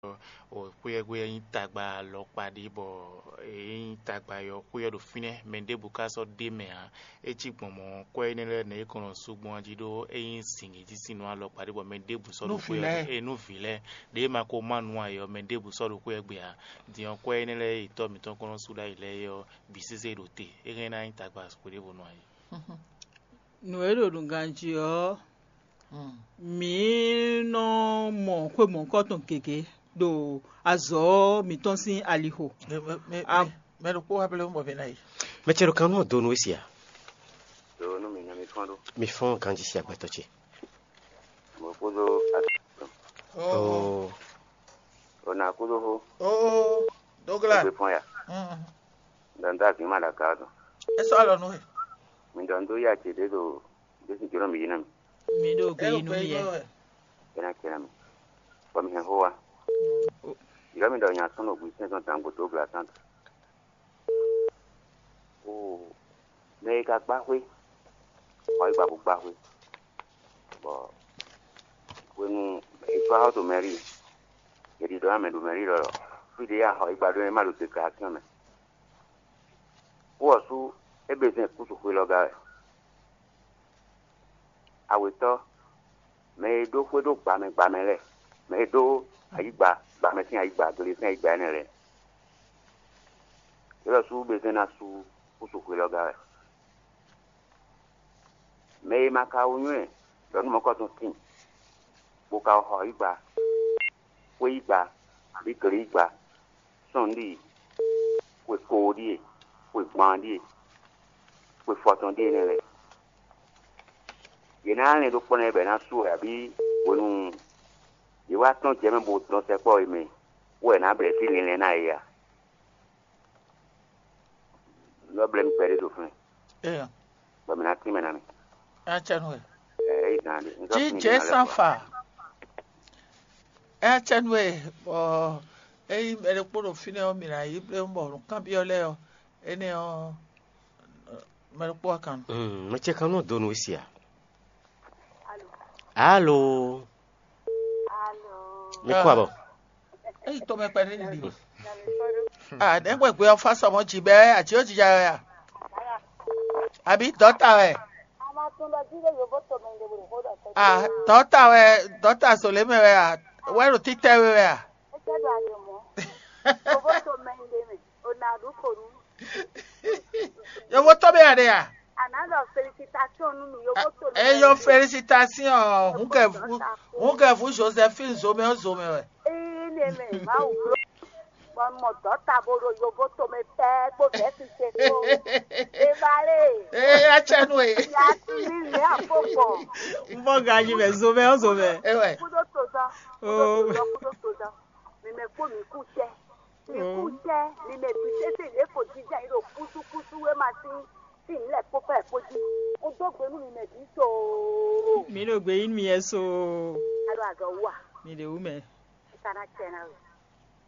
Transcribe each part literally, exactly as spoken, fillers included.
O xwé ɔ́ gbe ɔ́ nyí tagba alɔkpa ɖé, bɔ é nyí tagba e ɔ́, xwé ɔ́ ɖo fínɛ́, mɛ ɖěbǔ ka sɔ́ ɖ'é mɛ ǎ. É cí gbɔn mɔ̌, kwɛ́ énɛ́ lɛ́ɛ nɛ̌ é kɔn nɔ sú gbɔn ɔ́ jí ɖó é nyí zǐngíjísinnɔ alɔkpa ɖé, bɔ mɛ ɖěbǔ sɔ́ ɖo xwé ɔ́ gbe. É nú vǐ lɛ́ɛ ɖě ma ko má nǔ ǎ é ɔ́, mɛ ɖěbǔ sɔ́ ɖo xwé ɔ́ gbe ǎ. Din ɔ́, kwɛ́ énɛ́ lɛ́ɛ e tɔ́ mǐtɔn kɔn nɔ sú ɖ'ayǐ lɛ́ɛ é ɔ́, bǐ sésé ɖo te. É hɛn ná nyí tagba xwe ɖěvo nɔ ǎ é. Nǔ e ɖo nǔganjí ɔ́, mǐ nɔ mɔ xwe mɔ̌hunkɔtɔn gěgé ɖo azɔ̌ mǐtɔn sín alixo. Mɛ ɖokpó wá blɛ́ mɔ mɛ ná yi. Mɛ ce ɖo kan nú ɔ́ dó nú we sia. Ɖo nú mi nya mi fɔ́n ɖó. Mi fɔ́n ganjí sia gbɛtɔ́ ce. Mo kúdó atɔn. Oo. O na kúdó xó. Oo. Dógla. Gbé fɔ́n ya. Ɖɔ n dó azǐn ma ɖo aga ɔ́ tɔn. É sɔ́ alɔ nú we. Mi ɖɔ n dó ya ce ɖé ɖo Jésù jǒnɔ mi yi nú mi. Mi ɖo gbeyín nú mì wɛ. É ná ce nú mi. Bɔ mi hɛn xó wá. Yɔ̌ mi ɖɔ nya sɔ́ nɔ gbǐ sɛ́n tɔn dan gbo dó gbla tán. Oo, mɛ e ka gbá xwé, xɔ yi gba bó gbá xwé. Bɔ hwenu e sɔ́ xɔ to mɛrí, è ɖiɖɔ ná mɛ ɖo mɛrí ɖɔɖɔ. Fí ɖé ya xɔ yi gba ɖó é má ɖo deklarasyon mɛ. Kú ɔ́ sú é bɛ́ zɛn kúsu xwé lɔ gá wɛ. Awětɔ́, mɛ e ɖó xwé ɖó gbǎmɛ gbǎmɛ lɛ́ɛ, mɛ e ɖó ayǐgba gbǎmɛ sín ayǐgba, gle sín ayǐgba énɛ́ lɛ́ɛ, é lɔ sú bɛ́ zɛn ná sú kúsu xwé lɔ gá wɛ. Mɛ e ma ka wú nywɛ́ ɖɔ nú mɔ̌kɔ́tɔn tíin, bó ka xɔ yígba, xwé yígba, abǐ gle yígba, sɔ́ nǔ ɖi xwe koo ɖíe, xwe gban ɖíe, xwe fɔtɔn ɖíe nɛ́ lɛ́ɛ. Yě ná lɛn ɖó kpɔ́ nɛ́ bɔ è nǎ sú wɛ abǐ hwenu yě wá tɔ́n jɛ mɛ bó dɔn sɛkpɔ́ e mɛ wɛ è nǎ blɛ̌ fí linlɛn ná yě a? Lɔ blɛ́ mi kpɛɖé ɖo fínɛ́, Éya, bɔ mǐ ná tín mɛ ná mi. É ná cɛ nú we. Ɛ, é yi gǎn ɖé. Un sɔ́ Jí tín Jě mǐ ná lɛ́ san kɔ. Fa. É ná cɛ nú we, bɔ ényí mɛ ɖokpó ɖo fínɛ́ ɔ́, mǐ ná yí bléwún bɔ nǔkanbyɔ́ lɛ́ɛ ɔ́, énɛ́ ɔ́, mɛ ɖokpó wá kan nú. Mm, mɛ ce kan nɔ dó nú we sia. Alo. Mi kú abɔ. Eyi tɔmɛ kpɛɖé nyi ɖi. Ah, nɛgbɛ gbé ɔ́ fá sɔmɔ jǐ bɛ ají ó jija wɛ a? Àbí dɔta wɛ? Ah, dɔta wɛ, dɔta zolé mɛ wɛ a? Wɛ ɖo títɛ we wɛ a? Yovo tɔ́ bɛ a ɖe a? Anadɔ felicitation nú mi yovo tɔ́. Eyo felicitation, hun kɛ vu, hun kɛ vu Josephine zomɛ o zomɛ wɛ. Ee, ne mɛ Mawu blo. Bɔ mɔ dɔta bo ɖo yovo tomɛ pɛɛ kpó vɛsi ce kpó. Ebale. Ee, atsɛnu e. Ya ti mi mɛ afɔ gbɔ. N bɔ ganji mɛ zomɛ o zomɛ. Ewɛ. Kudo tozɔ. Oh. Kudo tozɔ, kudo tozɔ. Mi mɛ kpó mi kú tɛ. Mi kú tɛ. Mi mɛ bi sese le ko jija yi ɖo kusu kusu we ma si. Si mi lɛ kpó pɛ kpó ji. O do gbe nu mi mɛ bi so. Mi ɖo gbe yi mi yɛ so. Alo azɔ wa. Mi ɖe wu mɛ. Kana tɛ na we.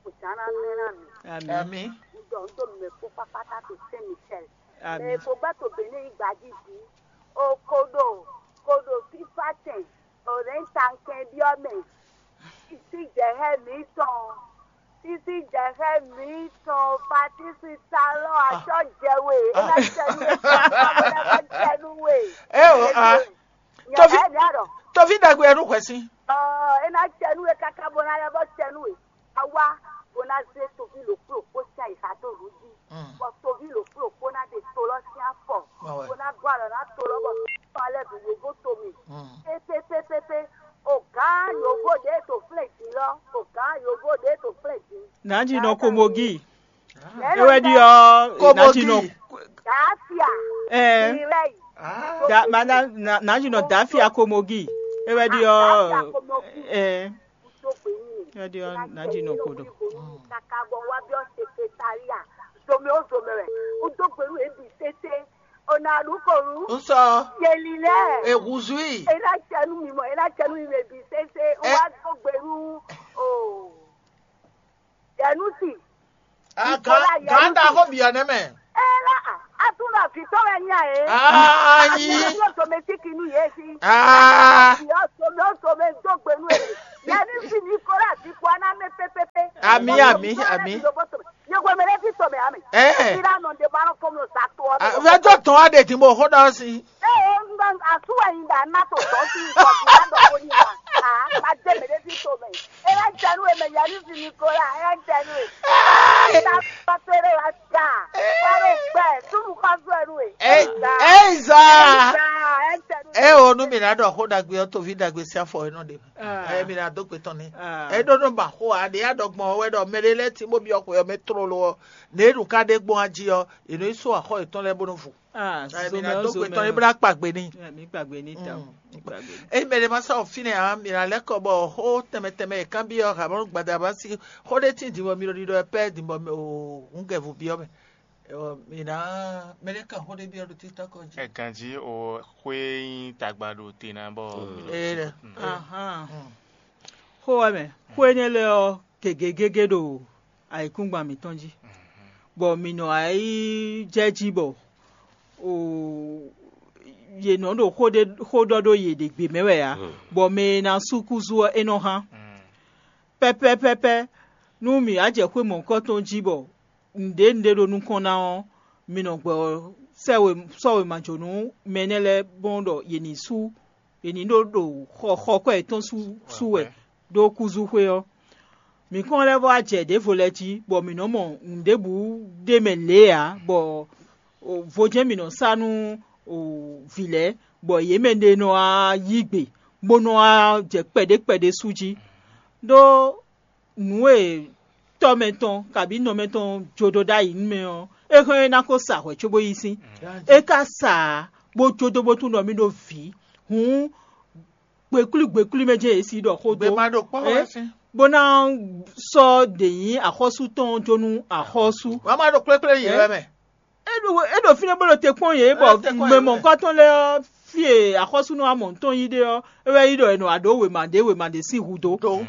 Hosanna mɛ na mi. Ami. Ami. Ŋdɔ ŋdɔ mɛ kpó kpakpata to Saint Michel. Ami. Mɛ kpó gbá to Benin yi gbaji di. O koɖo koɖo fifa tɛn. O rɛ ta nkɛ biɔ mɛ. Sisi jɛ hɛ mi tɔn. Sisi jɛ hɛ mi tɔn. Patisi talɔ atɔ jɛ we. E na jɛ nu we. E na jɛ nu we. E o a. Tovi, tovi ɖagbe ɛ ɖo hwɛ sí. Ɔ, e na jɛ nu we kaka bo na lɛ bɔ jɛ nu we. Awa bo na ze tovi ɖokpó ɖokpó sín ayixa dó nǔ jí, bɔ tovi ɖokpó ɖokpó ná ɖe to lɔ sín afɔ, bó ná gɔ́ alɔ ná to lɔ bɔ tɔn lɛ́ bǐ yovo to mi. Pépépépépé, o gǎn yovo ɖě to flɛ́ jǐ lɔ, o gǎn yovo ɖě to flɛ́ jǐ. Nǎjínɔ Komogi. É wɛ ɖi ɔ́, Komogi. Dafia. Ɛ. Ìrẹ́yì. Madame, Nǎjínɔ Dafia Komogi. É wɛ ɖi ɔ́, ɛ. Kudo gbe nyi. Ɛ ɖi ɔ́, Nǎjínɔ Kodo. Kaka bɔ wa biɔ sekretariat. Zomɛ o zomɛ wɛ. Kudo gbe nu ebi tete. Ona ɖu ko nu. Nsɔ. Yeli lɛ. Ehuzui. Ena cɛnu mi mɔ, ena cɛnu mi mɛ bi sese. Wa do gbe nu. O. Yɛnusi. Ganta xɔ biɔ nɛ mɛ. Ela, atún na vitɔ wɛ nya e. Ayi. Atún na domestique nu ye si. Ah. Biɔ somɛ o somɛ do gbe nu e. Yanisi Nicolas di kpo ana mɛ pépépé. Ami, ami, ami. Yego mɛ ɖe fi tɔmɛ ami. Ɛ. Ira nɔ de ba nɔ kɔmɔ sa to ɔ. Vɛtɔ tɔn wa de ti mo xo dɔ si. Ee, asu wɛ yin da na to tɔ si kɔ bi na dɔ ko ni ma. Ah, ma de mɛ ɖe fi tɔmɛ. Ira jɛnu mɛ Yanisi Nicolas, ira jɛnu. Ta pa tere wa ta. Karo gbɛ, tunu pa zɔ nu e. Ei, ei, za. Ɛ o nu mi na ɖɔ xó ɖagbe ɔ́ toví ɖagbe sín afɔ e nɔ ɖe. Ɛ mi na dó gbe tɔn nɛ. Ɛ ɖó nɔ ba xó a ɖe aɖɔgbɔn ɔ́ wɛ ɖɔ mɛ ɖé lɛ́ɛ tí bó byɔ́ xwe ɔ́ mɛ tlóló ɔ́, ně ɖu ká ɖe gbɔn ají ɔ́, è nɔ yi sú axɔ yětɔn lɛ́ɛ bó nɔ vo. Ɛ mi na dó gbe tɔn é bó ná kpa gbe n'i. Mi kpa gbe ní ta o. Mi kpa gbe ní. Eye mɛ ɖé ma sɔ́ fínɛ́ ǎ, mi ná lɛ́ kɔ bɔ xó tɛnmɛ tɛnmɛ e kanbyɔ́ Habaanu gbadaba sín xó ɖé tíin din bɔ mi ɖo ɖiɖɔ wɛ pɛ́ din bɔ mi o hǔngɛvu byɔ́ mɛ. Ɔ, mi ná mɛ ɖé kan xó ɖé byɔ́ ɖo títɔ́ kɔ jí. Ɛ ganjí o xwé nyí tagba ɖo te ná bɔ mi ɖo Ee ɖe. Ahan. Xó wɛ mɛ, xó énɛ́ lɛ́ɛ ɔ́ gěgé gégé ɖo ayǐkúngban mǐtɔn jí, bɔ mǐ nɔ wá yi jɛ jí bɔ o yě nɔ ɖo xó ɖé xó ɖɔ ɖó yě ɖě gbě mɛ wɛ ǎ, bɔ mɛ e ná sú kúzú ɔ́ é nɔ hán. Pɛ́pɛ́pɛ́pɛ́ nú mǐ wá jɛ xwé mɔ̌hunkɔtɔn jí bɔ nǔɖé nǔɖé ɖo nukɔn ná ɔ́, mi nɔ gbɔ sɛ́ we sɔ́ wěma jó nú mɛ énɛ́ lɛ́ɛ gbɔn ɖɔ yě ní sú yě ní ɖó ɖo xɔ xɔ kwɛ́ yětɔn sú sú wɛ ɖó kúzúxwé ɔ́. Mǐ kɔn lɛ́ vɔ wá jɛ ɖěvo lɛ́ɛ jí, bɔ mǐ nɔ́ mɔ nǔɖébǔ ɖ'é mɛ lě ǎ, bɔ vo jɛ́n mǐ nɔ sá nú vǐ lɛ́ɛ, bɔ yě mɛ ɖé nɔ wá yí gbe, bó nɔ wá jɛ kpɛɖé kpɛɖé sú jí. Ɖó nǔ e tɔ́ mɛ tɔn kabǐ nɔ mɛ tɔn jó dó ɖ'ayǐ nú mɛ ɔ́, é hɛn é ná ko sa hwɛ̌ cóbó yí sín. É ka sa ǎ, bó jó dó bó tunwun ɖɔ mì ɖó vǐ. Hǔn gbeklwí gbeklwí mɛ jɛ́n yě si ɖɔ xó dó, Gbema ɖo kpɔ́ wɛ sín. Bó ná sɔ́ ɖě nyí axɔ́sú tɔn jó nú axɔ́sú. Wǎ má ɖo kplékplé yě wɛ mɛ. É ɖo é ɖo fínɛ́ bó ɖo te kpɔ́n yě bɔ É ɖo te kpɔ́n yě. Mɛmɔ̌kɔtɔn lɛ́ɛ ɔ́, fí e axɔ́súnú Amɔ̌ tɔn yí ɖe ɔ́, é wɛ yí ɖɔ è nɔ wá ɖó wěma ɖě wěma ɖě sín hǔ dó. Do.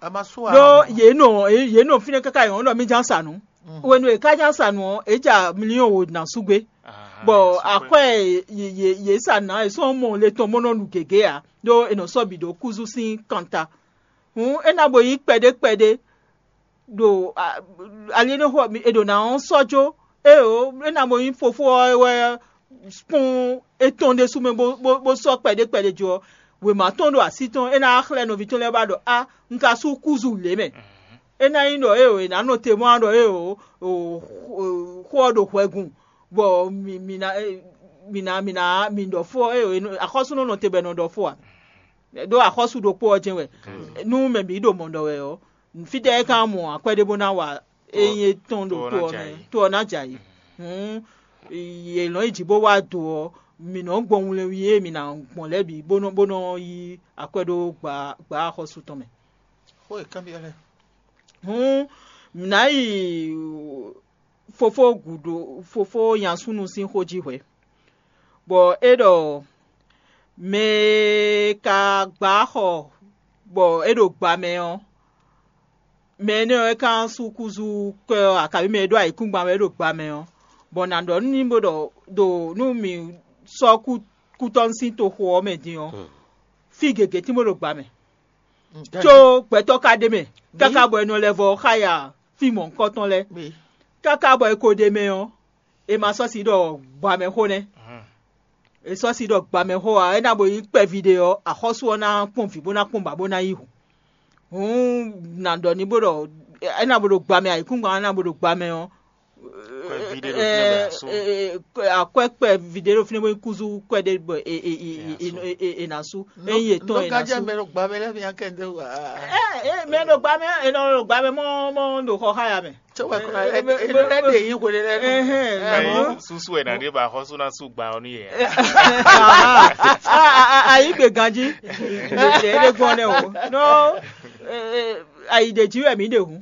A ma sú wa. Ɖó yě nɔ yě nɔ fínɛ́ káká yě nɔ ɖɔ mí ján sa nǔ. Hwenu e é ká ján sa nǔ ɔ́, é ja miliyɔn wo ná sú gbé. Bɔ akwɛ́ e yě yě yě sa ná é sɔ́ mɔ le tɔn bó nɔ nu gěgé ǎ, ɖó è nɔ sɔ́ bǐ ɖó kúzú sín kanta. Hǔn é ná bo yí kpɛɖé kpɛɖé ɖo ali énɛ́ xo è ɖo ná ɔ́ sɔ́ jó. Éeǒ, é ná bo nyí fofó ɔ́ wɛ kpɔ́n étɔn ɖésú mɛ bó bó bó sɔ́ kpɛɖé kpɛɖé jó ɔ́, wěma tɔn ɖo así tɔn é ná xlɛ́ nɔví tɔn lɛ́ɛ ba ɖɔ á un ka sú kúzu lě mɛ. É ná nyí ɖɔ éeǒ è nǎ nɔ te mɔ ɖɔ éeǒ xó ɔ́ ɖo hwɛgun bɔ mǐ mǐ ná mǐ ná mǐ ná mǐ ɖɔ fó ɔ́ éeǒ axɔ́súnɔ nɔ te bɔ è nɔ ɖɔ fó ǎ. Ɖó axɔ́sú ɖokpó ɔ́ jɛ́n wɛ nú mɛ bǐ ɖo mɔ̌ ɖɔ wɛ ɔ́, fítɛ́ é ka mɔ akwɛ́ ɖé bó ná wa ényí é tɔn ɖo to ɔ́ mɛ, to ɔ́ ná jɛ ayǐ. Hǔn yě nɔ yi jǐ bó wá do ɔ́, mǐ nɔ gbɔn wlɛnwí e mǐ ná gbɔn lɛ́ɛ bǐ bó nɔ bó nɔ yí akwɛ́ ɖó gbǎ gbǎ axɔ́sú tɔn mɛ. Xó e kanbyɔ́ lɛ́ɛ. Hǔn mǐ ná yi fofó gǔdo fofó nyasúnu sín xó jí hwɛ̌, bɔ é ɖɔ mɛ e ka gbǎ xɔ bɔ é ɖo gba mɛ ɔ́, mɛ énɛ́ ɔ́ é ka sú kúzú kwɛ́ ɔ́, akabí mɛ e ɖó ayǐkúngban wɛ é ɖo gba mɛ ɔ́, bɔ nǎ ɖɔ nú ní bó ɖɔ ɖo nú mǐ sɔ́ kú kútɔ́ sín toxo ɔ́ mɛ din ɔ́, fí gěgé tín bó ɖo gba mɛ. Có gbɛtɔ́ ka ɖ'é mɛ káká bɔ è nɔ lɛ́ vɔ xá ya fí mɔ̌hunkɔtɔn lɛ́ɛ. Káká bɔ è ko ɖ'é mɛ ɔ́, è ma sɔ́ si ɖɔ gbamɛxó nɛ́. È sɔ́ si ɖɔ gbamɛxó ǎ, é ná bo nyí kpɛví ɖé ɔ́, axɔ́sú ɔ́ ná kpɔ́n vǐ bó ná kpɔ́n ba bó ná yí hǔn. Hǔn nǎ ɖɔ ní bó ɖɔ é ná bo ɖo gbamɛ ayǐkúngban ɔ́ ná bo ɖo gbamɛ ɔ́, Kwɛ́ví ɖé ɖo fínɛ́ bɔ è nǎ sú. akwɛ́ kpɛví ɖé ɖo fínɛ́ bó nyí kúzú kwɛ́ ɖé bɔ è è è è è è è nǎ sú. Ényí è tɔn è nǎ Nɔgãjɛ sú. Mɛ ɖo gbamɛ lɛ́ɛ mi akɛ ɖe wa. Ɛ ɛ mɛ ɖo gbamɛ ɛ nɔ ɖo gbamɛ mɔ mɔ ɖo xɔ xá ya mɛ. Tso wɛ kura Eh, ɛ eh, ɛ ɛ de yin hwele lɛ. Ɛhɛn, Ayi nɔ- susu wɛ na ɖe ba xɔsu na su gba ɔnu yɛ. Ayi gbe ganji. Ɖe ɖe gbɔn nɛ o. No. Ayi ɖe ji wɛ mi ɖe hu.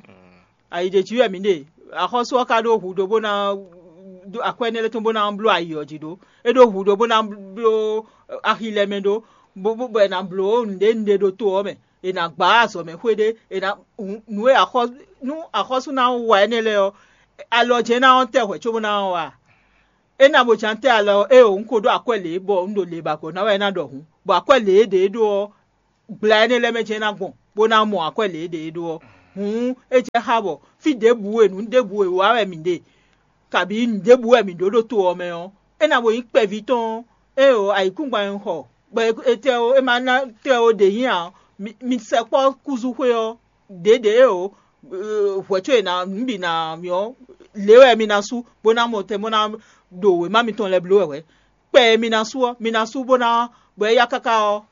Ayi ɖe ji wɛ mi ɖe. Axɔsu ɔ́ ka ɖo hu ɖo bó ná ɖo akwɛ énɛ́ lɛ́ɛ tɔn bó ná bló ayi ɔ́ jí ɖó. É ɖo hu ɖo bó ná bló axi lɛ́ɛ mɛ ɖó. Bó bó bɔ è nǎ bló nǔɖé nǔɖé ɖo to ɔ́ mɛ. È nǎ gbá azɔ̌ mɛ xwé ɖé. È nǎ nǔ e axɔ nú axɔ́sú ná wa énɛ́ lɛ́ɛ ɔ́, alɔ jɛ́n ná ɔ́ tɛ hwɛ̌ cóbó ná ɔ́ wa. É ná bo ján tɛ́ alɔ ɔ́, éeǒ, un ko ɖó akwɛ́ lě bɔ un ɖo lě ba gbɔ̌ ná wɛ é ná ɖɔ hǔn, bɔ akwɛ́ lě e ɖě é ɖó ɔ́, gbla énɛ́ lɛ́ɛ mɛ jɛ́n é ná gbɔn. bó ná mɔ akwɛ́ lě e ɖe é ɖó ɔ́. Hǔn é jɛ xá bɔ fí ɖěbǔ e nǔ ɖěbǔ e wa wɛ mǐ ɖe, kabǐ nǔ ɖěbǔ wɛ mǐ ɖó ɖo to ɔ́ mɛ ɔ́, é ná bo nyí kpɛví tɔn ɔ́. Éeǒ, ayǐkúngban e un xɔ, bɔ etɛ́ ó, é ma ná tɛ́ ó ɖě nyí ǎ. Mi sɛkpɔ́ kúzúxwé ɔ́, ɖěɖě éeǒ, hwɛ̌ có è nǎ nǔ bǐ ná mì ɔ́, lě wɛ mi ná sú, bó ná mɔ tɛn bó ná ɖo wěma mitɔn lɛ́ɛ bló wɛ hwɛ̌. Kpɛ e mi ná sú ɔ́, mi ná sú bó ná bɔ é yá káká ɔ́,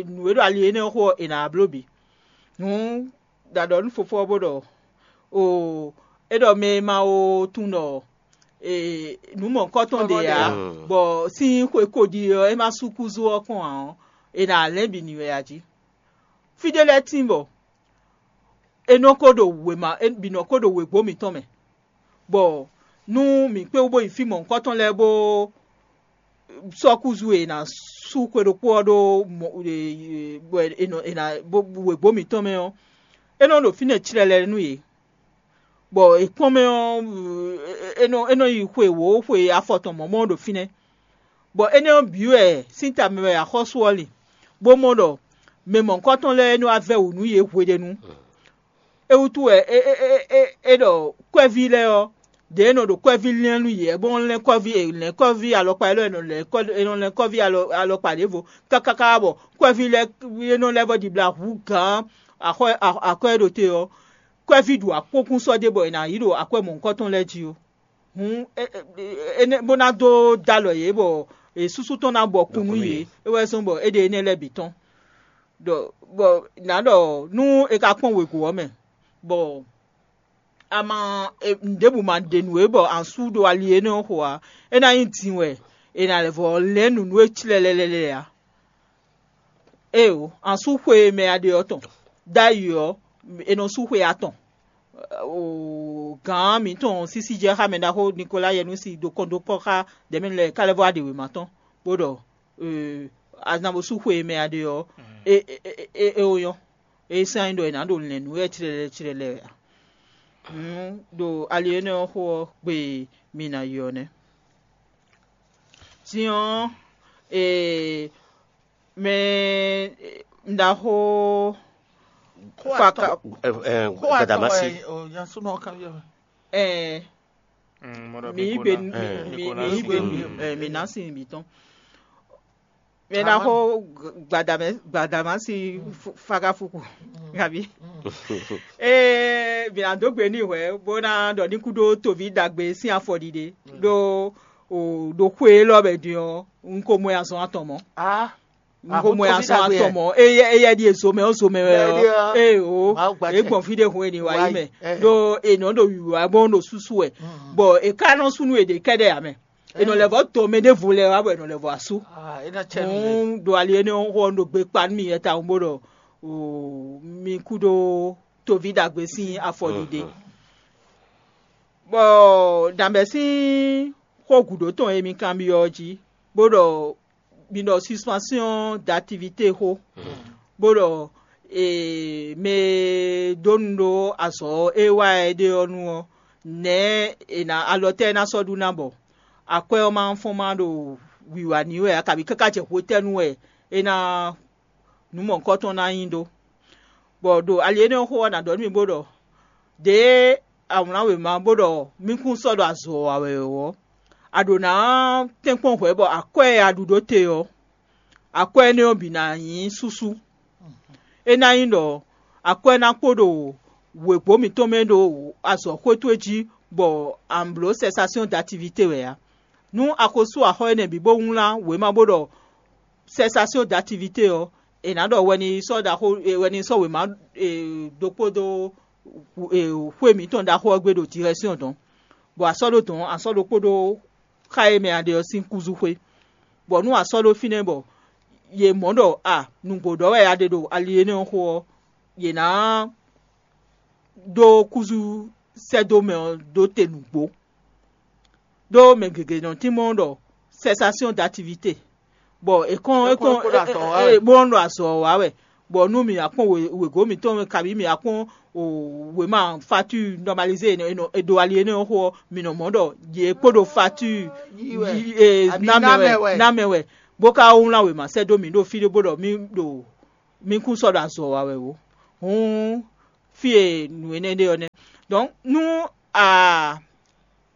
nǔ e ɖo ali énɛ́ ɔ́ xo ɔ́, è nǎ bló bǐ. Hǔn ɖo aɖɔ nú fofó ɔ́ bó ɖɔ: “Oo, é ɖɔ mɛ e ma ó tunwun ɖɔ nǔ mɔ̌hunkɔtɔn ɖe ǎ, bɔ sín xwe ko ɖi ɔ́, é ma sú kúzú ɔ́ kɔn ǎ ɔ́, è nǎ lɛ́n bǐ n'i wɛ a jí.” Fí ɖé lɛ́ɛ tíin bɔ é nɔ ko ɖo wěma, é bǐ nɔ ko ɖo wěgbó mǐtɔn mɛ, bɔ nú mǐ kpé wú bó yi fí mɔ̌hunkɔtɔn lɛ́ɛ bó sɔ́ kúzu e è nǎ sú xwe ɖokpó ɔ́ ɖó bɔ è nɔ è nǎ wěgbó mǐtɔn mɛ ɔ́, é nɔ ɖo fínɛ́ tlɛlɛ nú yě, bɔ è kpɔ́n mɛ ɔ́, é nɔ é nɔ yi xwe wǒ xwe afɔ tɔn mɔ̌ mɔ ɖo fínɛ́, bɔ énɛ́ ɔ́ bǐ wɛ sín ta mɛ wɛ axɔ́sú ɔ́ lin, bó mɔ ɖɔ mɛ mɔ̌hunkɔtɔn lɛ́ɛ é nɔ wá vɛ́ wǔ nú yě hweɖénu. É wútu wɛ é é é é é ɖɔ kwɛ́ví lɛ́ɛ ɔ́, ɖě e nɔ ɖo kwɛ́ví lɛ́n nú yě, bó nɔ́ lɛ́n kɔ́ví è lɛ́n kɔ́ví alɔkpa élɔ́ è nɔ lɛ́n kɔ́ è nɔ lɛ́n kɔ́ví alɔ alɔkpa ɖěvo káká káká bɔ kwɛ́ví lɛ́ɛ é nɔ lɛ́ vɔ ɖibla hǔ gǎn axɔ́ akwɛ́ e ɖo te ɔ́, kwɛ́ví ɖu akpókún sɔ́ ɖé bɔ è nǎ yí ɖo akwɛ́ mɔ̌hunkɔtɔn lɛ́ɛ jí ó. Hǔn énɛ́ bó ná dó dó alɔ yě bɔ è súsú tɔn ná bɔ kún nú yě, é wɛ zɔ́n bɔ é ɖe énɛ́ lɛ́ɛ bǐ tɔn. Ɖɔ bɔ nǎ ɖɔ nú è ka kpɔ́n wěgo ɔ́ mɛ, bɔ ama nǔɖěbǔ ma ɖe nǔ é bɔ an sú ɖo ali énɛ́ ɔ́ xo ǎ, é ná nyí din wɛ è nǎ lɛ́ vɔ lɛ̌n nǔ nú we tlɛlɛlɛlɛ ǎ. Éeǒ, an sú xwe e mɛ a ɖe ɔ́ tɔn. Ɖ'ayǐ ɔ́, è nɔ sú xwe atɔn. Gǎn mǐtɔn sísí jɛ xá mɛ ɖaxó Nikola Yɛnusi ɖo kɔn dó kpɔ́ xá ɖɛ̌mɛnu lɛ́ɛ ká lɛ́ vɔ wá ɖe wěma tɔn, bó ɖɔ a ná bó sú xwe e mɛ a ɖe ɔ́, é é é é ó nyɔ́. É sɛ́n nyí ɖɔ è nǎ ɖo lɛ̌n nǔ wɛ tlɛlɛ tlɛlɛ wɛ a? Hǔn ɖo ali énɛ́ ɔ́ xo ɔ́ gbe e mi ná yi ɔ́ nɛ́. Din ɔ́, ee, mɛ ɖaxó Faka, Gbadamasi. Ɛɛ, mi yí gbe mi yí gbe mi ná sin bǐ tɔn. Mɛ ná xo Gbadamasi Fakafuku, abi? Ee, mǐ ná dó gbe n'i hwɛ̌ bó ná ɖɔ ní kúdó toví ɖagbe sín afɔɖiɖe ɖó ɖo xwe élɔ́ mɛ din ɔ́, un ko mɔ ɛ azɔn atɔn mɔ̌. Un ko mɔ ɛ azɔn atɔn mɔ̌. Éyɛ́ ɖíe zomɛ ɔ́ zomɛ wɛ ɔ́, ee o, é gbɔn fí ɖé hun e ní wá yi mɛ, ɖó è nɔ ɖo wǐwá bó ɖo súsú wɛ, bɔ è ka nɔ sú nú è ɖě kɛ́ɖɛ́ ǎ mɛ. È nɔ lɛ́ vɔ́ dɔn mɛ ɖěvo lɛ́ɛ wá bɔ è nɔ lɛ́ vɔ́ asú. Hǔn ɖo ali énɛ́ ɔ́ xo ɔ́, un ɖo gbe kpa nú mi yɛ tawun bó ɖɔ mi kú ɖó toví ɖagbe sín afɔɖiɖe. Bɔ ɖǎmɛ sín xó gǔdo tɔn e mi kanbyɔ́ ɔ́ jí, bó ɖɔ mi ɖɔ suspension d'activité xó, bó ɖɔ mɛ e dó nu ɖó azɔ̌ e wá ɛ ɖe ɔ́ nu ɔ́, nɛ̌ è nǎ alɔ tɛ́ é ná sɔ́ ɖu ná bɔ akwɛ́ ɔ́ ma fɔ́n ma ɖo wǐwá n'i wɛ ǎ, kabǐ káká jɛ hwetɛ́nu wɛ é ná nǔ mɔ̌hunkɔtɔn ná nyí ɖó. Bɔ ɖo ali énɛ́ ɔ́ xo ɔ́, nǎ ɖɔ nú mi bó ɖɔ: ɖěe a wlǎn wěma bó ɖɔ mí kún sɔ́ ɖo azɔ̌ wa wɛ ɔ́, a ɖǒ ná tɛ́nkpɔ́n hwɛ̌ bɔ akwɛ́ e a ɖu ɖó te ɔ́, akwɛ́ énɛ́ ɔ́ bǐ ná nyí súsú. É ná nyí ɖɔ akwɛ́ ná kpo ɖo wěgbó mǐtɔn mɛ ɖo azɔ̌xwé towe jí, bɔ a nǎ bló cessation d'activité wɛ ǎ. Nú a ko sú axɔ́ énɛ́ bǐ bó wlán wěma bó ɖɔ cessation d'activité ɔ́, è nǎ ɖɔ wɛ ní sɔ́ ɖaxó wɛ ní sɔ́ wěma ɖokpó dó xwé mǐtɔn ɖaxó ɔ́ gbe ɖo direction dɔ̌n, bɔ a sɔ́ ɖó dɔ̌n, a sɔ́ ɖokpó ɖó xá e mɛ a ɖe ɔ́ sín kúzúxwé, bɔ nú a sɔ́ ɖó fínɛ́ bɔ yě mɔ ɖɔ a nǔgbó ɖɔ wɛ a ɖe ɖo ali énɛ́ ɔ́ xo ɔ́, yě ná ɖó kúzú sɛ́ dó mɛ ɔ́ ɖó te nǔgbó. Ɖó mɛ gěgé nɔ tínmɔ́ ɖɔ cessation d'activité, bɔ è kɔn è kɔn bó nɔ ɖo azɔ̌ wa wɛ, bɔ nú mǐ wá kpɔn wěgó mǐtɔn mɛ, kabǐ mǐ wá kpɔn wěma facture normalisée è ɖo ali énɛ́ ɔ́ xo ɔ́, mǐ nɔ mɔ ɖɔ yě kpo ɖo facture ná mɛ wɛ, ná mɛ wɛ, bó ka wlán wěma sɛ́ dó mǐ ɖo fí ɖé bó ɖɔ mí ɖo mí kún sɔ́ ɖo azɔ̌ wa wɛ ó. Hǔn fí e nǔ énɛ́ ɖe ɔ́ nɛ́. Donc nú a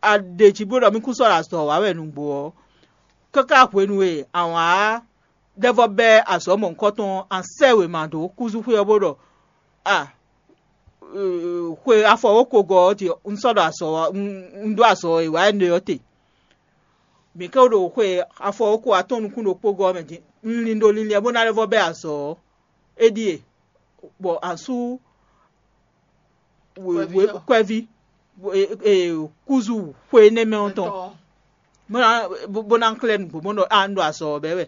a ɖe jí bó ɖɔ mí kún sɔ́ ɖo azɔ̌ wa wɛ nǔgbó ɔ́, káká hwenu e a wǎn ɖɛvɔ́ bɛ́ azɔ̌ mɔ̌hunkɔtɔn ɔ́, a sɛ́ wěma dó kúzúxwé ɔ́ bó ɖɔ a xwe afɔ wókogɔ ɔ́ jí un sɔ́ ɖo azɔ̌ wa un ɖó azɔ̌ e wǎ énɛ́ ɔ́ te. Mǐ ké ɖo xwe afɔ wóko atɔ́ɔ́n nukún ɖokpó gɔ́ ɔ́ mɛ din, un lin ɖo linlin ɛ bó ná lɛ́ vɔ́ bɛ́ azɔ̌ ɔ́, é ɖíe, bɔ a sú kwɛ́ví kúzu xwe énɛ́ mɛ ɔ́ tɔn, bó ná xlɛ́ nǔgbó bó ɖɔ a un ɖo azɔ̌ ɔ́ bɛ́ wɛ.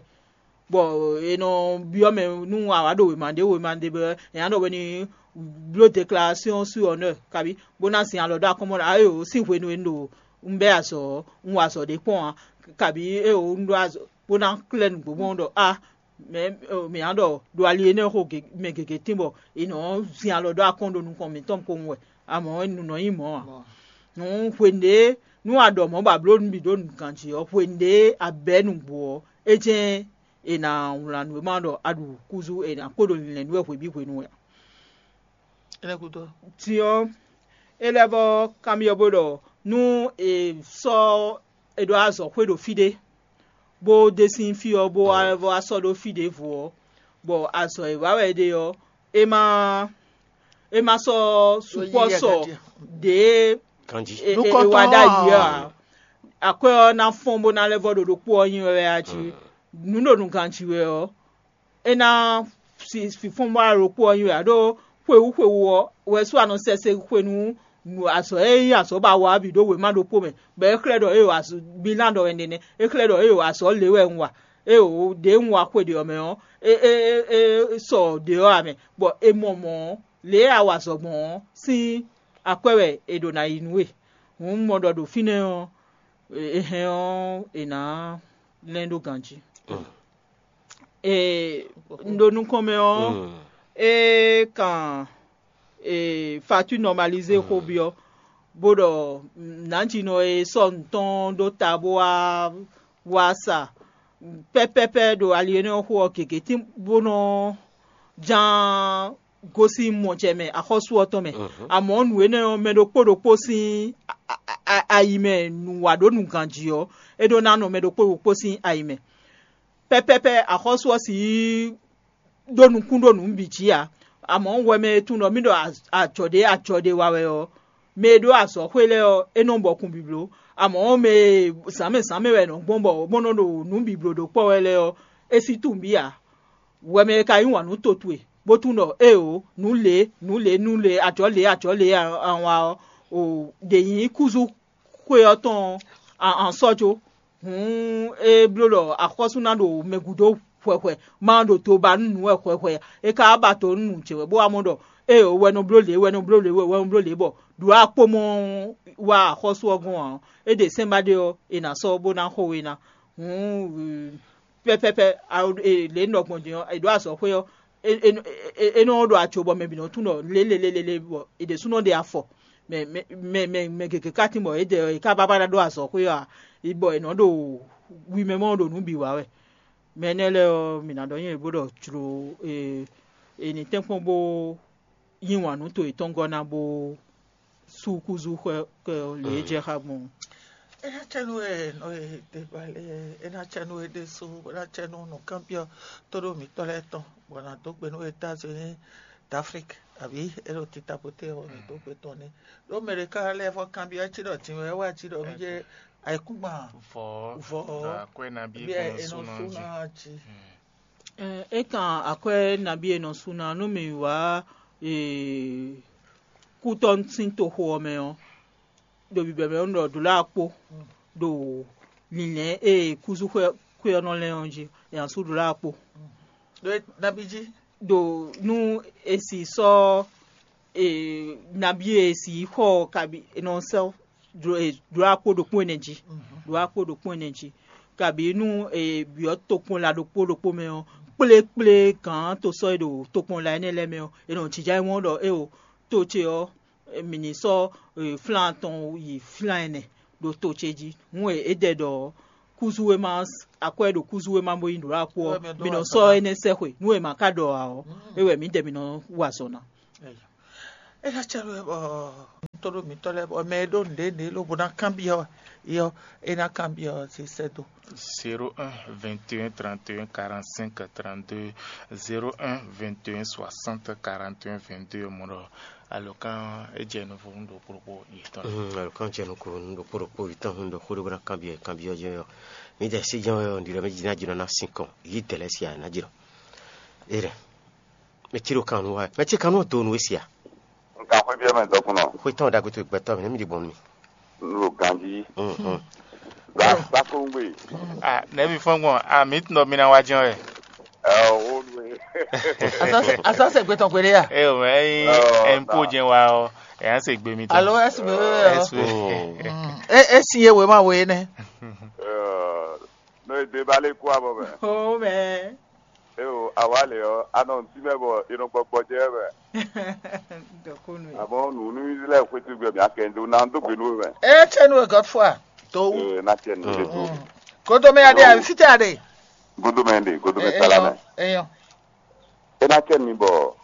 Bɔ è nɔ byɔ́ mɛ nú a wǎ ɖo wěma ɖé wěma ɖé bɔ è nǎ ɖɔ hwenu bló deklarasyon su honneur kabi bó ná zin alɔ ɖó akɔ́mɔ ɖɔ ayo sín hwenu e un ɖo un bɛ́ azɔ̌ ɔ́, un wa azɔ̌ ɖé kpɔ́n ǎ, kabi eo un ɖó azɔ̌ bó ná xlɛ́ nǔgbó gbɔn ɖɔ a mɛ mǐ nǎ ɖɔ ɖo ali énɛ́ xo mɛ gěgé tín bɔ è nɔ zin alɔ ɖó akɔ́n ɖo nukɔn mǐtɔn kpowun wɛ, amɔ̌ nǔ nɔ nyí mɔ̌ ǎ. Nǔ hwenu ɖě nú a ɖɔ mɔ̌ bɔ a blǒ nǔ bǐ ɖó nǔganjí ɔ́, hwenu ɖě a bɛ̌ nǔgbó ɔ́, é jɛ́n è nǎ wlán nǔ e ma ɖɔ a ɖu kúzú è nǎ kpo ɖo linlɛ̌n nú wɛ hwebǐ hwenu wɛ ǎ. Din ɔ́, é lɛ́ vɔ́ kanbyɔ́ bó ɖɔ nú è sɔ́ è ɖo azɔ̌ xwé ɖo fí ɖé, bó ɖe sín fí ɔ́ bó wá vɔ́ wá sɔ́ ɖó fí ɖěvo ɔ́, bɔ azɔ̌ e wa wɛ è ɖe ɔ́, é má é má sɔ́ sukpɔ́ sɔ ɖě e e wa ɖ'ayǐ ɔ́ ǎ. Akwɛ́ ɔ́ ná fɔ́n bó ná lɛ́ vɔ́ ɖo ɖokpó ɔ́ nyi wɛ wɛ a jí. Nǔ ɖo nǔgan jí wɛ ɔ́, é ná fínfɔ́n bó ná ɖo ɖokpó ɔ́ nyi wɛ ǎ. Ɖó xwewú xwewú ɔ́ wɛ sú a nɔ sɛse hwenu azɔ̌ e nyí azɔ̌ ba wa ɔ́ bǐ ɖó wěma ɖokpó mɛ, bɔ é xlɛ́ ɖɔ éeǒ azɔ̌ bílán ɖɔ wɛ nɛnɛ, é xlɛ́ ɖɔ éeǒ azɔ̌ lě wɛ un wa, éeǒ ɖě un wa xwe ɖě ɔ́ mɛ ɔ́, é é é é sɔ ɖě ɔ́ ǎ mɛ, bɔ è mɔ mɔ̌ lě e a wa azɔ̌ gbɔn ɔ́ sín akwɛ́ wɛ è ɖǒ ná yí nú we. Hǔn un mɔ ɖɔ ɖo fínɛ́ ɔ́, è hɛn ɔ́, è nǎ lɛ́n ɖó ganjí. Ee, un ɖo nukɔn mɛ ɔ́, é kan Fatu nɔmalizé xó byɔ́, bó ɖɔ nǎjinɔ e sɔ́ nǔ tɔn ɖó ta bó wá wá sa pɛ́pɛ́pɛ́ ɖo ali énɛ́ ɔ́ xo ɔ́ gěgé tín bó nɔ ján gosín mɔjɛ mɛ axɔ́sú ɔ́ tɔn mɛ. Amɔ̌ nǔ énɛ́ ɔ́, mɛ ɖokpó ɖokpó sín ayi mɛ nǔ wa ɖó nǔgan jí ɔ́, é ɖó ná nɔ mɛ ɖokpó ɖokpó sín ayi mɛ. Pɛ́pɛ́pɛ́ axɔ́sú ɔ́ sixú ɖó nukún ɖó nǔ bǐ jí ǎ. Amɔ̌, hwɛ mɛ e tunwun ɖɔ mì ɖɔ ajɔ̌ ɖé ajɔ̌ ɖé wa wɛ ɔ́, mɛ e ɖó azɔ̌xwé lɛ́ɛ ɔ́, é nɔ bɔkun bǐ bló. Amɔ̌, mɛ e zǎnmɛ zǎnmɛ wɛ è nɔ gbɔn bɔ bó nɔ́ ɖo nǔ bǐ bló ɖó kpɔ́ wɛ lɛ́ɛ ɔ́, é sí tunwun bǐ ǎ. Hwɛ mɛ e ka yí wǎn nú to towe, bó tunwun ɖɔ éeǒ, nǔ lě, nǔ lě, nǔ lě, ajɔ̌ lě, ajɔ̌ lě a wa ɔ́, ɖě nyí kúzú xwe ɔ́ tɔn an sɔ́ jó. Hǔn é bló ɖɔ axɔ́sú ná ɖo mɛ gúdo hwɛhwɛ, má ɖo to ba nú nǔ wɛ hwɛhwɛ. É ka wá ba to nú nǔ ce wɛ, bó wá mɔ ɖɔ éeǒ wɛ nɔ bló lě, wɛ nɔ bló lě, wɛ wɛ nɔ bló lě, bɔ ɖǒ akpó mɔ wá axɔ́sú ɔ́ gɔ́n ǎ ɔ́, é ɖe sɛ́n ba ɖé ɔ́, è nǎ sɔ́ bó ná xo we ná. Hǔn pɛ́pɛ́pɛ́ lě nɔ gbɔn din ɔ́, è ɖǒ azɔ̌xwé ɔ́, é nɔ ɖo aco bɔ mɛ bǐ nɔ tunwun ɖɔ lě lě lě lě bɔ è ɖěsúnɔ ɖe afɔ. Mɛ mɛ mɛ mɛ gěgé ka tín bɔ é jɛ è ká bábá ná ɖó azɔ̌xwé ɔ́ ǎ, bɔ è nɔ ɖo wi mɛ mɔ ɖo nǔ bǐ wa wɛ. Mɛ énɛ́ lɛ́ɛ ɔ́, mǐ ná ɖɔ nyɛ bó ɖɔ jlǒ è nǐ tɛ́nkpɔ́n bó yí wǎn nú to yětɔn gɔ́ ná bó sú kúzú xwɛ kɛ ɔ́ lě e jɛ xá gbɔn. É ná cɛ nú we nɔ e te ba lé é ná cɛ nú we ɖésú é ná cɛ nú nǔkanbyɔ́ tóɖó mǐtɔn lɛ́ɛ tɔn bɔ nǎ dó gbe nú États-Unis d'Afrique àbí é ɖo tita poté ɔ́ mǐ dó gbe tɔn ní. Ɖó mɛ ɖé ká lɛ́ vɔ kanbyɔ́ cí ɖɔ din wɛ wá cí ɖɔ mí jɛ ayikúngban vɔ vɔ akwɛ nabí bí ɛ é nɔ sú ná jí. É kan akwɛ́ nabí e nɔ sú ná nú mì wá kútɔ́ sín toxo ɔ́ mɛ ɔ́, ɖo bǐbɛ́ mɛ ɔ́, un ɖɔ ɖǒ lɛ́ɛ kpó ɖo lǐnlɛ́n e kúzú xwé ɔ́ nɔ lɛ́n ɔ́ jí, è nǎ sú ɖǒ lɛ́ɛ kpó. Ɖó nabí jí? Ɖo nú è sì sɔ́ nabí e è sì xɔ ɔ́ kabi è nɔ sɛ́ ɖó akpó ɖokpó ɛnɛ jí, ɖó akpó ɖokpó ɛnɛ jí, kabǐ nú è byɔ́ tokpɔnla ɖokpó ɖokpó mɛ ɔ́, kplékplé gǎn tosɔ́ e ɖo tokpɔnla énɛ́ lɛ́ɛ mɛ ɔ́, è nɔ jínjɔ́n ayǐ mɔ ɖɔ éeǒ, to ce ɔ́, mǐ ní sɔ́ flán atɔn yi flán ɛnɛ ɖo to ce jí. Hǔn e é dɛ ɖɔ kúzú e ma akwɛ́ ɖo kúzú e ma bó nyí ɖǒ akpó ɔ́, mǐ nɔ sɔ́ énɛ́ sɛ́xwe. Nú è ma ka ɖɔ ǎ ɔ́, é wɛ mǐdɛɛ mǐ nɔ wa azɔ̌ ná. É ná cɛ ɖo bɔ ntɔ́ɖo mǐtɔn lɛ́ɛ bɔ mɛ e ɖó nǔɖé nǔɖé lobo ná kanbyɔ́ yɔ é ná kanbyɔ́ ɔ́, zé sɛ́ dó. Zéro un, vingt et un, trente et un, quarante-cinq, trente-deux, zéro un, vingt et un, soixante, quarante et un, vingt-deux, mɔ ɖɔ alɔkán é jɛ nuvɔ nú ɖokpó ɖokpó yětɔn lɛ́ɛ. Alɔkán jɛ nukɔn nú ɖokpó ɖokpó yětɔn nú ɖɔ xó ɖé bó ná kanbyɔ́ kanbyɔ́ jɛ ɔ́, mǐdɛɛ sí jɛ́n wɛ ɔ́, nǔɖiɖɔ mɛ jí ná jlɔ́ ná sín kɔn yǐ dɛ̌ lɛ́ɛ sí ǎ ná jlɔ́. É ɖɛ. Mɛ cí ɖo kan nú wa wɛ. Mɛ cí kan nú do nú we sia. Nkan xwé biɛ mɛ dɔkunnɔ. Xwé tɔn ɖagbe to gbɛtɔ́ mɛ nɛ́ mi ɖi bɔn nú mi. Nlo ganji. Mhm. Ba ba kongbe. Ah, nɛbi fɔn gbɔn. Ah, mi tun dɔ mi na wa jɛn wɛ. Ɛ o wo nue. Asase asase gbetɔn gbede ya. Eh, o mɛ yin Oh, ɛmpo da. Jɛn wa o. Ɛ an se gbe mi tɔn. Alo S B E o. S B E. Mm. E e si ye we ma we ne. Ɛ no e de ba le ku abɔ mɛ. O mɛ. E o awa le ɔ anɔ ntí mɛ bɔ e nɔ gbɔgbɔ jɛ mɛ. Dɔkunu ye. Àmọ́ nùnú Israẹl xwétúgbẹ́ mi akẹ́ńdó náà ń dógbe nú mɛ. E tse nu e Godfrey. To wu. Ee na tiẹ̀ nù lé tó. Kodo mɛ ya de a fite ya de. Godo mɛ de godo mɛ sala mɛ. Eyɔn. E na tiẹ̀ mi bɔ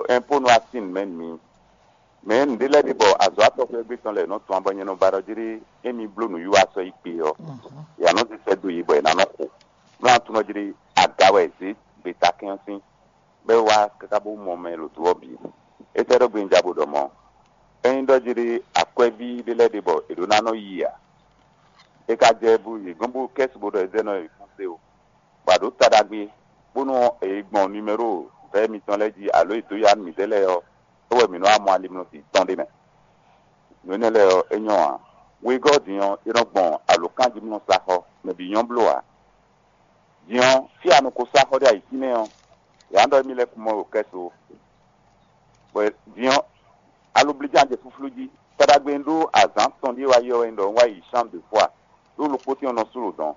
ɛnpo nu asin mɛ mi. Mɛ nǔɖé lɛ́ɛ ɖi bɔ azɔ̌ atɔxwɛ́gbé tɔn lɛ́ɛ nɔ tɔn bɔ nyɛ nɔ ba ɖɔ jí ɖé émi bló nǔwiwa sɔ́ yi kpe ɔ́, yě nɔ zé sɛ́ dó yě bɔ yě ná nɔ xo. Nú a tunɔ jí ɖé aga wɛ è zě gbeta kɛ́n ɔ́ sín, bɔ é wá káká bó mɔ mɛ e ɖo do ɔ́ bǐ. É sɛ́ ɖɔ gbinja bó ɖɔ mɔ̌. Ényí ɖɔ jí ɖé akwɛ́ví ɖé lɛ́ɛ ɖe bɔ è ɖǒ ná nɔ yi ǎ. É ka jɛ bú yě gɔ́n bú kɛ́si bó ɖɔ é zɛ nɔ yi fún sé o. Bɔ a ɖǒ ta ɖagbe, bónú è yi gbɔn nimero vɛ̌ mitɔn lɛ́ɛ jí alo è dǒ ya nú mǐdɛɛ lɛ́ɛ ɔ́, é wɛ mǐ nɔ́ wá mɔ alimlɔsi tɔn ɖé mɛ. Nǔ énɛ́ lɛ́ɛ ɔ́, é nyɔ́ ǎ. Wegɔ́ din ɔ́, é nɔ gbɔn alǒkanjímlɔ́saxɔ, mɛ bǐ nyɔ́ bló ǎ. Din ɔ́, fí e a nɔ ko sá xɔ ɖé ayǐ fínɛ́ ɔ́, yě ná ɖɔ émí lɛ́ɛ kún mɔ ɖo kɛ́ so. Bɔ din ɔ́, aloblíján jɛ flúflú jí. Taɖagbe e un ɖó azǎn tɔn ɖíe wá yi ɔ́ wɛ nyí ɖɔ un wá yi Chambre de Foi, ɖó ɖokpó tɛ́n ɔ́ nɔ sú ɖo dɔ̌n,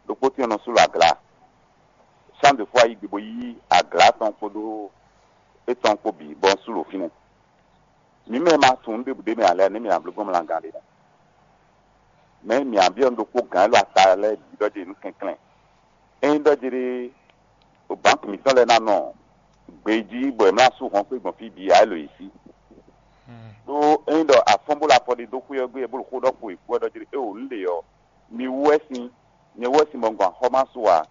ɖokpó tɛ́n ɔ́ nɔ sú ɖo aglǎ. Chambre de Foi yí gbe bó yí aglǎ tɔn kpódó étɔn kpó bǐ, bɔ un sú ɖo fínɛ́. Mǐ mɛ ma tunwun nǔ ɖěbǔ ɖ'é mɛ ǎ lɛ́ɛ, nɛ̌ mǐ ná bló gbɔn mlangan ɖe mɛ? Mɛ̌ mǐ ná byɔ́ nǔ ɖokpó gǎn élɔ́ ata lɛ́ɛ bǐ ɖɔ jí nǔ kɛnklɛ́n? Ényí ɖɔ jí ɖé, bǎnki mǐtɔn lɛ́ɛ ná nɔ gbejí bɔ è mlá sú hɔn kpé gbɔn fí bǐ ǎ, é lo yě sí. Ɖó ényí ɖɔ afɔ́n bó ɖo afɔ ɖe dó xwé ɔ́ gbé, bó ɖo xó ɖɔ kpo è kú ɔ́ ɖɔ jí ɖé, éeǒ, nǔ ɖě ɔ́, mi wú wɛ sín, nyɛ wú wɛ sín bɔ un gɔn axɔ́ má su ǎ,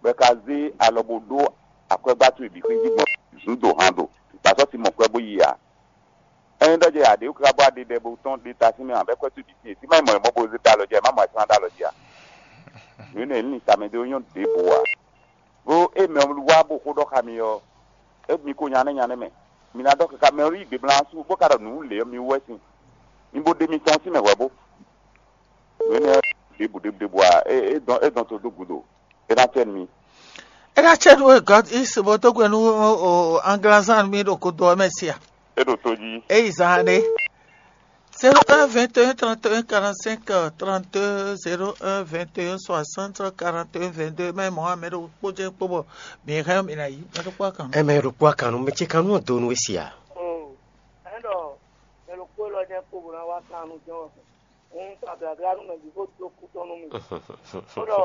bɔ è ka zé alɔ bó ɖó akwɛ́gbá towe bǐ xwé jí gbɔn zǔn do han do, bɔ a sɔ́ sin mɔ kwɛ́ bó yi ǎ. Ényí ɖɔ jɛ aɖě wú káká bɔ aɖe ɖɛ bó tɔ́n ɖe ta sín mɛ ǎ, bɔ é kwɛ́ towe bǐ sín é, fí má nyí mɔ è mɔ bó zé ta alɔ jí ǎ, è má mɔ ayǐkúngban ɖó alɔ jí ǎ. Nǔ énɛ́ ní tamɛ ɖé ó nyɔ́ ɖěbǔ ǎ. Bó é mɛ wá bó xó ɖɔ xá mi ɔ́, é mi ko nya nɛ́ nya nɛ́ mɛ. Mi ná ɖɔ káká mɛ wú yí gbe blá sú, bó ka ɖɔ nǔ lě ɔ́, mi wú wɛ sín. Mi bo ɖe mitɔn sín mɛ hwɛ̌ bó. Nǔ énɛ́ ɖěbǔ ɖěbǔ ɖěbǔ ǎ, é é dɔn é dɔn to dó gǔdo. É ná cɛ nú mi. É ná cɛ nú we gɔ́ í se bó dó gbe nú anglazán mi ɖo godo ɔ́ mɛ sia. É ɖo tó jí. É yi zan ɖé. Zéro un vingt et un trente et un quarante-cinq trente-deux, zéro un vingt et un soixante quarante et un vingt-deux, mɛ mɔ̌ ame ɖo kpó jɛ́n kpó bɔ mǐ hɛn mǐ ná yí mɛ ɖokpó akan. Ɛ mɛ ɖokpó akan nú mɛ ce kan nú ɔ́ do nú we sia. Ɛn ɖɔ mɛ ɖokpó élɔ́ jɛ́n kpó bó ná wá kan nú jɛ́n ɔ́. Un ta blabla nú mɛ bǐ bó dó kú tɔn nú mì. Bó ɖɔ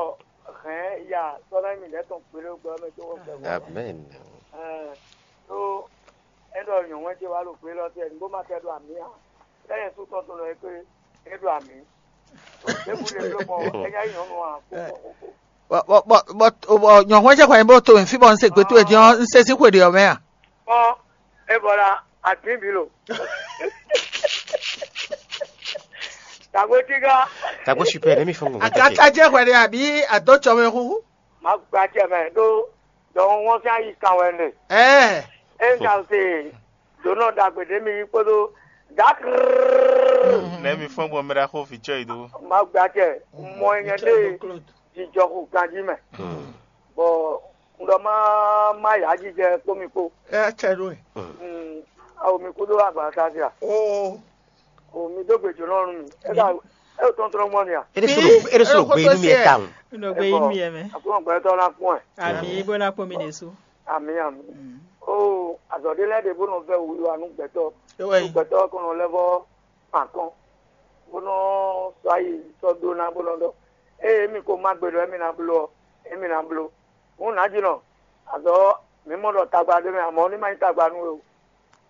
hɛ̌n ya sɔ́ ná nyí mǐdɛɛ tɔn kpéɖé gbɔ mɛ tó wɔ gbɛ. Amen. Ɛɛ, ɖó é ɖɔ nyɔ̌nu ce wá ɖo gbé lɔ tɛ, bó ma tɛ ɖo amǐ ǎ. Lɛ́ nyɛ sú tɔn tɔn nɔ é kpé é ɖo amǐ. Ɖěbǔ ɖě bló gbɔn é nya nyí nyɔ̌nu ǎ. Bɔ bɔ bɔ bɔ nyɔ̌nu ce xɔ nyi bó to mɛ fí bɔ un se gbé towe dín ɔ́, un se sín xwe ɖě ɔ́ mɛ a? Kpɔ́n, é bɔ la atín bǐ lo. Tagbo tígá. Tagbo super, let me phone. Agata jẹ́ hwɛɖe àbí àdótsɔmɛ hu? Má gba tiẹ̀ mɛ ɖó dɔwɔn wọ́n fín ayi kan wɛ nɛ. Ɛɛ. É ń ka se dǒnɔ ɖagbe ɖé mi kpódó dákrrrr. Let me phone gbɔn mɛ ɖaxó fi tsɔ yi dó. Má gba tiẹ̀ mɔ nyɛ ɖé jijɔ xo ganjí mɛ. Bɔ un ɖɔ má má yǎ jijɛ kpó mi kpó. É cɛ ɖó e. Awo mi kúdó agba ta sí a? Oo. O mi dó gbe jǒnɔ nú mi. É ka é o tɔntɔn gbɔn mi a? Ere solo ere solo gbe inú mi ɛ ta o. Nɔ gbe inú mi ɛ mɛ. Àkúrò gbɛtɔ la kún ɛ. Àmì bó ná kpɔn mi ɖe so. Àmì àmì. O azɔ̌ ɖé lɛ́ɛ ɖe bó nɔ vɛ wíwá nú gbɛtɔ. Ewɔ yi. Gbɛtɔ kɔnɔ lɛ vɔ pàkɔn. Bó nɔ sɔ ayi sɔ dó ná bó nɔ ɖɔ. Eye mi ko má gbe ɖɔ émi ná bló ɔ, émi ná bló. Hǔn nǎjínɔ, azɔ̌ mǐ mɔ ɖɔ tagba ɖé mɛ, amɔ̌ ní má nyí tagba nú we o.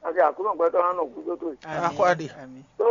Àti àkúnú gbɛtɔ́ ná nɔ gúdo tó. Àmín. Akɔ́ ɖe. Àmín. Tó